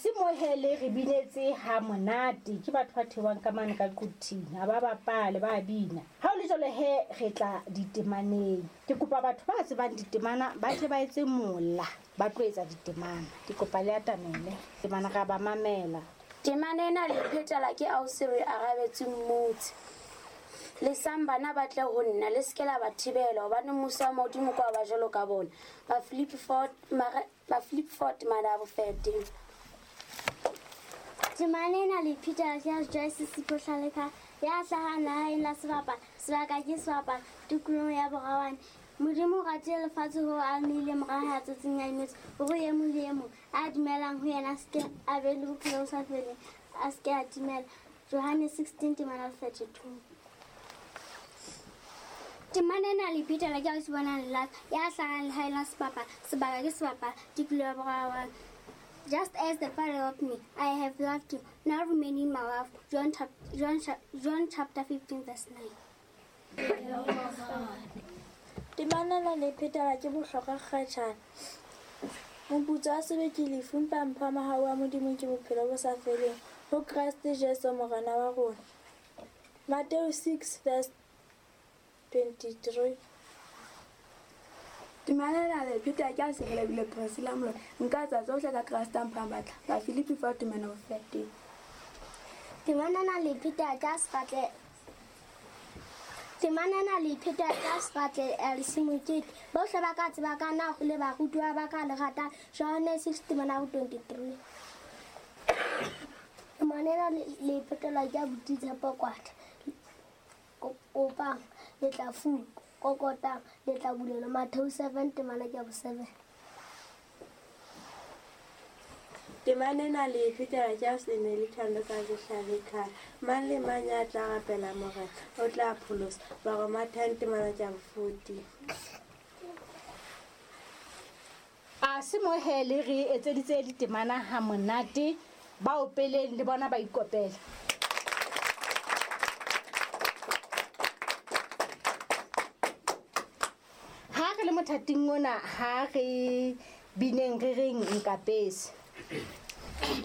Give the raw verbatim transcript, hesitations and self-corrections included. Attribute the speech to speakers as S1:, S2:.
S1: se mohele re binetse ha monate ke batho ba thewang ka mane ka Quthing ha ba bapale ba bina. Ha o le jwalo he re tla ditemaneng. Ke kopa batho ba tsebang ditemana ba tle ba etse mola ba tlo etsa ditemana. Ke kopa le atamele temana ga ba mamela.
S2: Temana ena le phetela ke ausi re arabetse mmutse. Le sambana ba tle ho nna le seke la ba thibela hobane mmuso wa Modimo kwa ba jwalo ka bona. Ba Philip Ford mara ba Philip Ford mana bo thirteen.
S3: Temana ena le phetela ke Joyce Sipho Hlaleka ya hlahang naheng la sebapala sebaka ke sebapala tikolohong ya Borawane. Modimo o ratile lefatshe hoo a neile mora hae a tswetseng a inotshi hore e mong le e mong a dumelang ho yena a seke a be le bophelo bo sa feleng, a seke a timela. Johannes sixteen temana thirty-two. Temana ena le phetela ke ausi Bonang Lelaka ya hlahang lehaeng la sebapala sebaka ke sebapala tikoloho ya Borawane. Just as the Father loved me, I have loved you. Now remain in my love. John, John, John chapter fifteen verse nine.
S4: Temana ena le phetela ke Bohlokwa Kgatjhane. Moputso wa sebe ke lefu, empa mpho ya mohau wa Modimo ke bophelo bo sa feleng ho Kreste Jesu Morena wa rona. Matthew six verse twenty-three.
S5: Temana ena le phetela ke a Serelebile Priscilla Moloi. Nka etsa tsohle ka Kreste a mphang matla. Ba Philippi four temana thirteen.
S3: Temana ena le phetela ke a Seratle. Temana ena le phetela ke a Seratle Elsie Mokete. Bohle ba ka tseba ka na ho le barutiwa ba ka le ratang. Johannes six temana twenty-three. Temana ena le phetela ke a Buti Tshepo Kwata. Kopang le tla fuwa, kokotang le tla bulelwa. Matthew seven temana ke ya seven.
S4: Temana ena le phetela ke a Seneli Thando ka Hlalekhala. Mang le mang ya tla rapela Morena o tla pholoswa. Baroma ten temana ke ya fourteen.
S1: A se mohele re etseditse ditemana ha monate ba opeleng le bona ba ikopela. Ha re le mothating ona ha re bineng re reng nkapese.